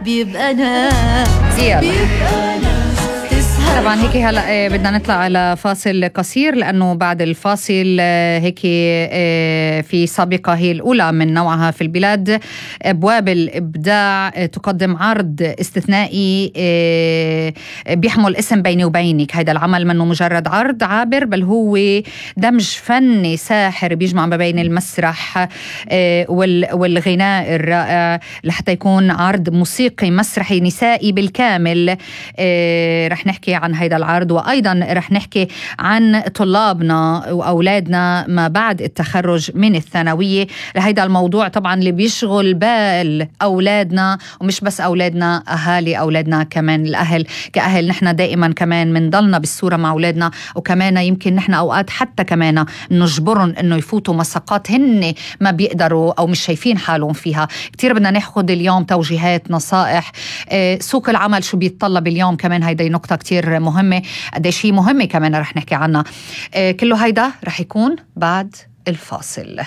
بيبقى ناس بيبقى ناس. طبعا هيك هلا بدنا نطلع على فاصل قصير، لأنه بعد الفاصل هيك في سابقة هي الأولى من نوعها في البلاد، أبواب الإبداع تقدم عرض استثنائي بيحمل اسم بيني وبينك. هيدا العمل منه مجرد عرض عابر، بل هو دمج فني ساحر بيجمع ما بين المسرح والغناء الرائع، لحتى يكون عرض موسيقي مسرحي نسائي بالكامل. رح نحكي عن هيدا العرض، وأيضا رح نحكي عن طلابنا وأولادنا ما بعد التخرج من الثانوية. لهيدا الموضوع طبعا اللي بيشغل بال أولادنا، ومش بس أولادنا، أهالي أولادنا كمان. الأهل كأهل نحن دائما كمان منضلنا بالصورة مع أولادنا، وكمان يمكن نحن أوقات حتى كمان نجبرهم إنه يفوتوا مساقات هن ما بيقدروا أو مش شايفين حالهم فيها. كتير بدنا ناخد اليوم توجيهات، نصائح. سوق العمل شو بيتطلب اليوم كمان، هيدا نقطة كتير مهمة. قديش هي مهمة كمان رح نحكي عنها. كله هيدا رح يكون بعد الفاصل.